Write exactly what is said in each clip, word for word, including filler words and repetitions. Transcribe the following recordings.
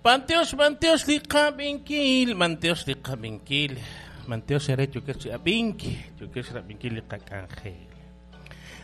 B'antiox, b'antiox li qab'inkil, b'antiox li qab'inkil, b'antiox ere yokex chi ab'ink, yokex rab'inkil li qak'anjel.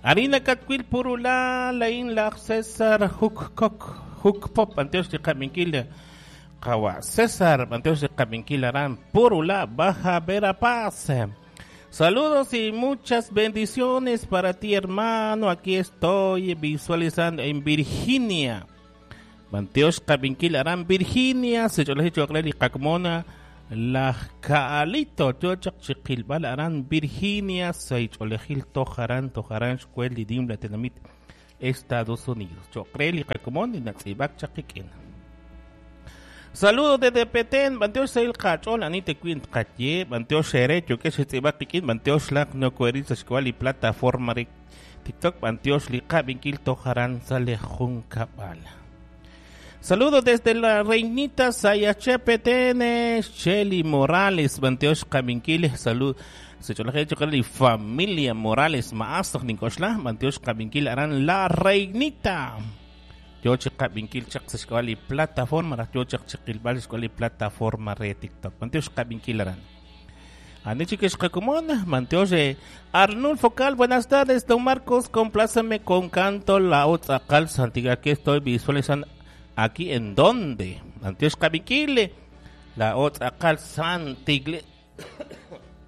Arina katwil purula lain laj César Huk Kok Huk Pop, b'antiox li qab'inkil qawa César, b'antiox li qab'inkil aran Purula, Baja Verapaz. Saludos y muchas bendiciones para ti, hermano. Aquí estoy visualizando en Virginia. B'antiox qab'inkil aran Virginia, sech'olej choqle li qakmona laj Kaalito, chochaq chiqilb'al aran Virginia, seich'olejil tojaran tojaran xkwel li dimla tenamit Estados Unidos. Choqre li qakmon li natz'ib'ak chaqik'in. Saludos desde Petén, b'antiox seil qach'ol ani tewin tqaye, b'antiox xere yokex tz'ib'ak qik'in, b'antiox laq nokoerit sa xkwal li plataforma re TikTok, b'antiox li qab'inkil tojaran sale jun kab'al. Saludos desde la Reinita Sayache Petén, Shelly Morales, b'antiox qab'inkil, salud. Secholaje chokal familia Morales, maasaq ninkoxla, b'antiox qab'inkil aran la Reinita. Yo chiqab'inkil chaq sa xkwal li plataforma, yo chaq chiqilb'al xkwal li plataforma re TikTok. B'antiox qab'inkil aran. Ani chiques qakumon, b'antiox Arnulfo Cal, buenas tardes, don Marcos, complázame con canto la otra cal Santiago. Aquí estoy visualizando. ¿Aquí en dónde? B'antiox qab'inkil, la otra cal Santigle.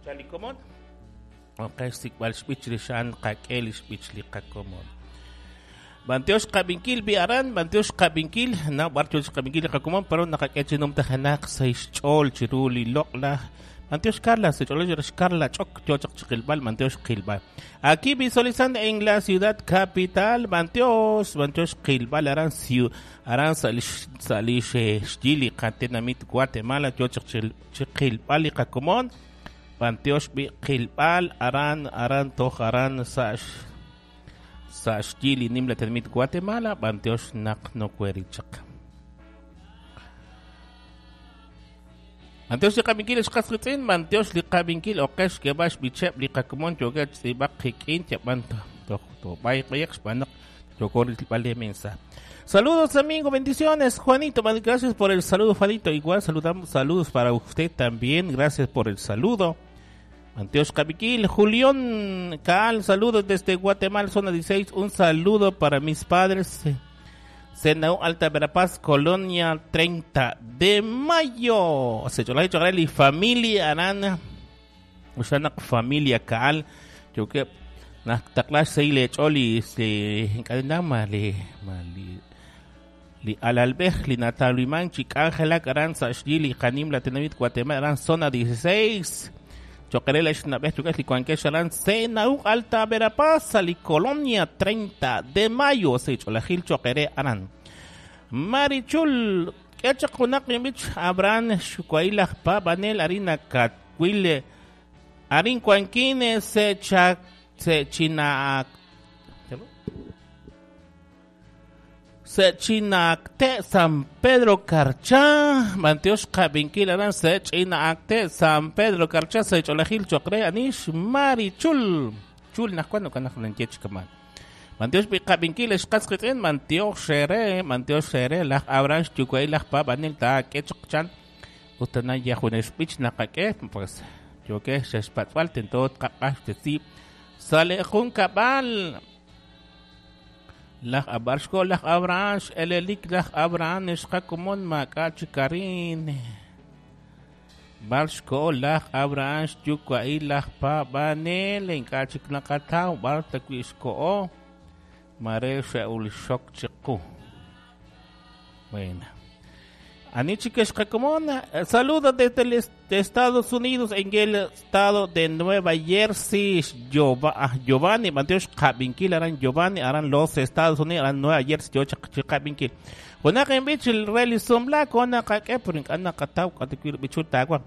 Chalikomon. Ok, sikbal xb'ich li xan qak'el xb'ich li qakomon. B'antiox qab'inkil bi aran, b'antiox qab'inkil, na b'antiox qab'inkil qakomon, pero naqak'e chinom tajanaq seis ch'ol chiru li loq'laj. B'antiox Carla, se ch'ol Carla ch'ok chochaq chiqilb'al, b'antiox qilb'al. Aquí visualizando en la ciudad capital, b'antiox, b'antiox qilb'al aran siu, aran salish salish xyili qatenamit Guatemala, chochaq chiqilb'al li qakomon. B'antiox bi qilb'al aran aran toj aran sa sa xyili nimla tenamit Guatemala, b'antiox naq nokuerichaq. B'antiox li qab'inkil xqas qitz'in, b'antiox li qab'inkil oqex kebax bicheb li qakomon yokech tz'ib'aq qik'in yab'an toj tobay qayaq xb'anaq yokor li mensa. Saludos amigo, bendiciones Juanito, gracias por el saludo Juanito, igual saludamos, saludos para usted también, gracias por el saludo. B'antiox qab'inkil, Julián Caal, saludos desde Guatemala, zona dieciséis, un saludo para mis padres. Senau Alta Verapaz, Colonia treinta de mayo. Se cholai chogaleli familia arana. Ushanak familia Caal. Yo que naktaklash seile choli se encadena mali mali li alalbej li nataliman chik ángela aran sa xyili qanim la tenamit Guatemala aran zona dieciséis. Choquerela xnabej choquel li cuanquex aran Senau Alta Verapaz li Colonia treinta de mayo se cholajil choquere aran. Marichul kechaq junaq yambich Abraham xukuailaj pa banel harina katwile arin cuanquine se cha se china se chinacte San Pedro Carchá, b'antiox qab'inkil aran se chinacte San Pedro Carchá, se cholajil chocre anish Marichul chul najkuan kanaj nanchech kaman. B'antiox qab'inkil xqas qitz'in, b'antiox xere, b'antiox xere laj Abraham xyukuay laj pa banel ta kechq chan utana yajunex b'ich naqak'e pues yoke xexpatz'wal tentot qaq'ax tesib sale jun kab'al. Laj Abarxko, laj Abraham, elelik laj Abraham, xqakomon mak'a chikarin. Barxko, laj Abraham, xyukuay laj pa banel, ink'a chiknaqataw, bar takwixko'o, mare xe'ulxok chiqu. Bueno. Anichikesh qakomon, saludos desde el de Estados Unidos, en el estado de Nueva Jersey, Giovanni, b'antiox qab'inkil aran Giovanni, aran los Estados Unidos, aran Nueva Jersey, yo chaqabinkil. Junaq bich el rally sombla con qak'e, pero ink'a qataw qatikwil bichul tagua.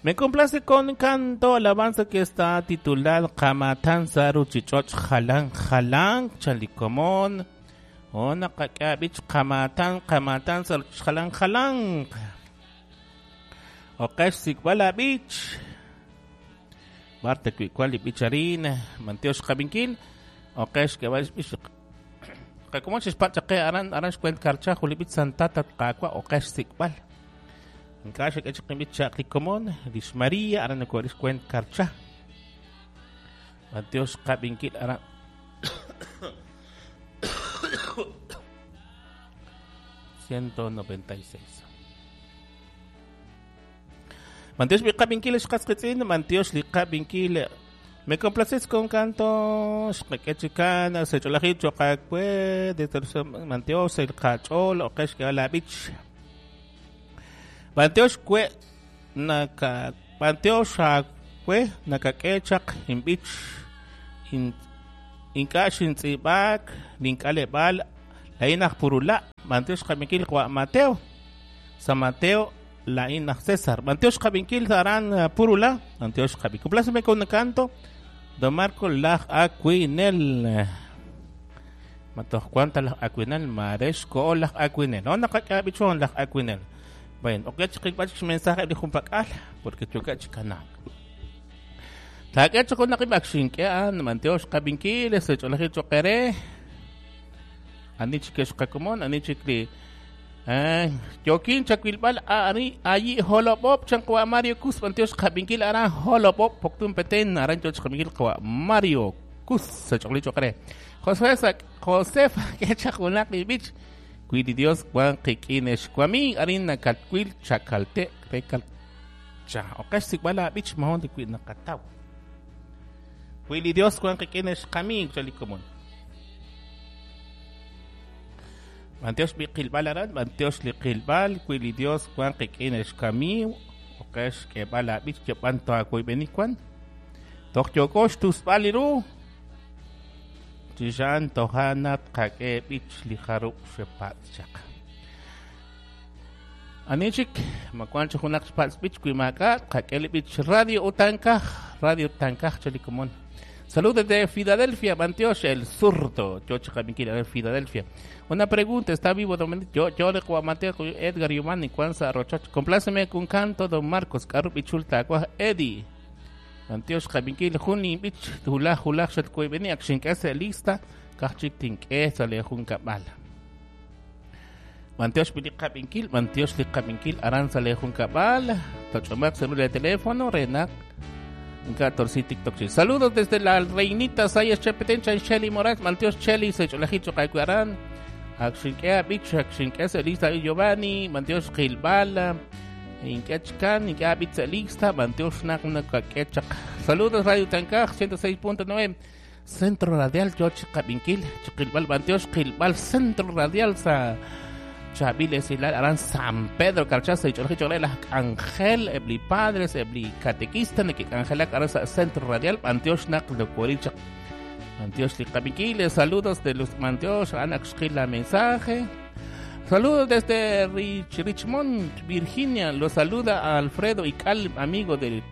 Me complace con canto alabanza que está titulado Qamatan Saru Chichoch Jalan Jalan Chalikomon. Ona qak'a bich qamatan qamatan saru jalan jalan. Oqex sikbala bich. Barta kuikwali bicharin, b'antiox qab'inkil. Oqex kebal bich. Qakomon xixpachaqe aran aran xkwent karcha julibit santata qaqwa oqex sikbal. Ink'a' xak'e chaq inb'ich chaq li komon, lix Maria aran nakooril xkwent Karcha. B'antiox qab'inkil aran. ciento noventa y seis. B'antiox li qab'inkil xqasqitz'in, b'antiox li qab'inkil. Me complaces con canto, xqak'e chikana, sech'olajil choqakwe, desde b'antiox el qach'ol, oqex k'e b'ich. B'antiox kwe naka b'antiox akwe nakak'e chaq inb'ich in ink'a' xintz'iib'ak link'aleb'aal la'in aj Purula. B'antiox qab'inkil wa Mateo, San Mateo la'in aj César. B'antiox qab'inkil aran Purula. B'antiox qab'inkil. Compláceme con un canto, don Marco laj Aquinel. Matoj cuanta laj Aquinel, marex ko laj Aquinel. No nakak'e b'ichon laj Aquinel. Bueno, ok, chiqilb'ach mensaje li junpak'al porque choka chikanak. Tak'e chakon naqib'ak xink'e an b'antiox qab'inkil sech'olajil choqere. Ani chikex qakomon, ani chikli eh yokin chakwilb'al ari ayi holopop chanqwa Mario Cus b'antiox qab'inkil aran holopop poktun peten aran choch qab'inkil qwa Mario Cus sech'olajil choqere. José Josefa ke chaqunaq b'ich Cuidi Dios Juan Qiquines Kwami arina Calcuil Chacalte Recal Cha Okesh Sikwala Bich Mahon de Cuid Nakatau. Cuidi Dios Juan Qiquines Kami Chalikomon. Manteos Biqilbalaran, Manteos Liqilbal, Cuidi Dios Juan Qiquines Kami, Okesh Kebala Bich Chepanto Acuibenicuan. Tokyokosh Tusbaliru. Chijan tohana kake bich liharu shepat chak. Anichik makuancho junak shpat bich kuimaka kake bich radio utankaj radio utankaj chalikomon. Saludos desde Filadelfia, Bantiox el zurdo. Yo chakabinkil de Filadelfia. Una pregunta, ¿está vivo don Yo yo le Mateo Edgar Yumani Kwanza Rochoch? Compláceme con canto don Marcos Karup Ichulta Eddie. Antiox qabinkil juni bich hulaj hulaj xatkuibeni akxink'ese lista kajchik tink'e sale jun kab'al. Antiox bili qabinkil, Antiox li qabinkil aran sale jun kab'al. Toch'omaq celular de teléfono renak catorce TikTok. Saludos desde la Reinita Sayas Chepetencha y Shelly Morales. Antiox Shelly sech'olajil choqaykuaran. Akxink'e bich akxink'ese lista Giovanni, Antiox Gilbala. Inkechkan, inkabitza lista, Bantiox nakakechak. Saludos Radio Tankaj, ciento seis punto nueve, Centro Radial, Yoch Kabinkil, Chiquilbal, Bantiox, Gilbal, Centro Radial, sa Chaviles y Aran San Pedro, Carchaza, y Choljicholela, Ángel, Ebli Padres, Ebli Catequista, Nekik Ángel, Aran Centro Radial, Bantiox Nak, Locuericha, Bantiox Kabinkil, saludos de los Bantiox, Anaxquila, mensaje. Saludos desde Rich, Richmond, Virginia. Los saluda a Alfredo Ical, amigo de,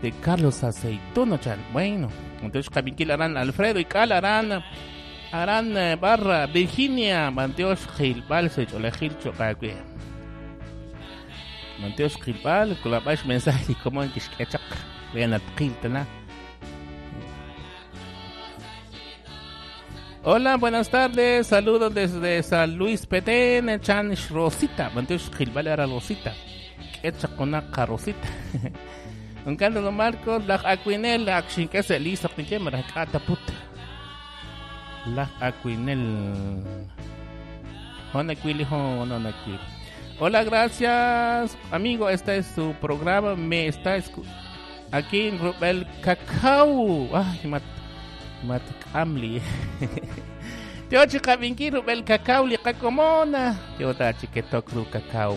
de Carlos Aceituno. Chan. Bueno, entonces Kabinkil harán Alfredo Ical harán harán barra Virginia. Manteos Gilbal, Secholejil Chocagüe. Manteos Gilbal, colabash mensaje como en Kishkechak. Vean al Kiltana. Hola, buenas tardes. Saludos desde San Luis Petén, Chan Rosita. Manteos Gilbal era Rosita. Quechacona Rosita. Un canto de Marcos, la Aquinel, la Xinquese, Lisa, Pinche, Maracata, puta. La Aquinel. Hola, gracias, amigo. Este es su programa. Me está escuchando aquí en Rubel Cacao. Ay, mat. Matkamli. Tio chikabinki Rubel Cacao li kakomona. Tio ta chiketok ru cacao.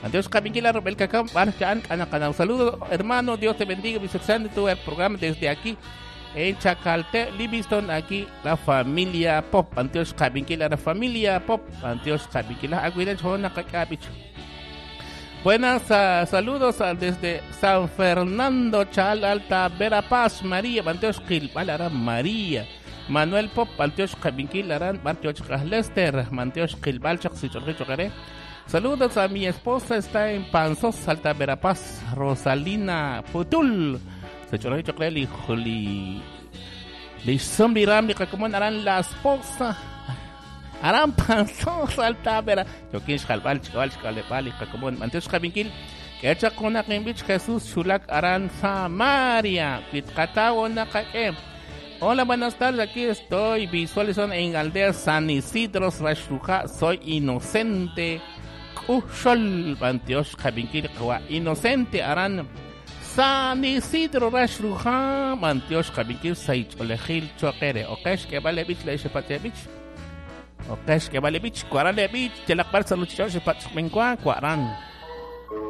Adiós kabinki la Rubel Cacao. Barchan kana. Saludos, hermano. Dios te bendiga. Visitando tu programa desde aquí en Chacalte, Livingston, aquí la familia Pop. Antios kabinki la familia Pop. Antios kabinki la aguilen chona kakabich. Buenas uh, saludos uh, desde San Fernando, Chal Alta, Verapaz, María, Banteos Gilbal, María, Manuel Pop, Banteos Cabinquil, Aran, Banteos Lester, Banteos Gilbal, Chaxichorrichocaré. Saludos a mi esposa, está en Panzós, Alta Verapaz, Rosalina Putul, Sechorrichocaré, Li, Li, Li, Arán, la esposa. Aran Panzón Salta, yookin xjalb'al xk'ab'al xk'aleb'aal li qakomon. B'antiox xqab'inkil. K'e chaq junaq inb'ich Jesús xulak aran Samaria. Wi tqataw naqak'e. Hola, buenas tardes. Aquí estoy visualizando en Aldea San Isidro, Raxruhá. Soy inocente. K'uxol. B'antiox xqab'inkil qawa. Inocente aran San Isidro Raxruhá. B'antiox xqab'inkil saych'olejil choqere. Oqex k'eb'al b'ich le xepatz b'ich. Oqex k'eb'al b'ich. Kuaral b'ich. Yalaq b'ar sa ruchich'och' xepatz' xb'enwa kuaran.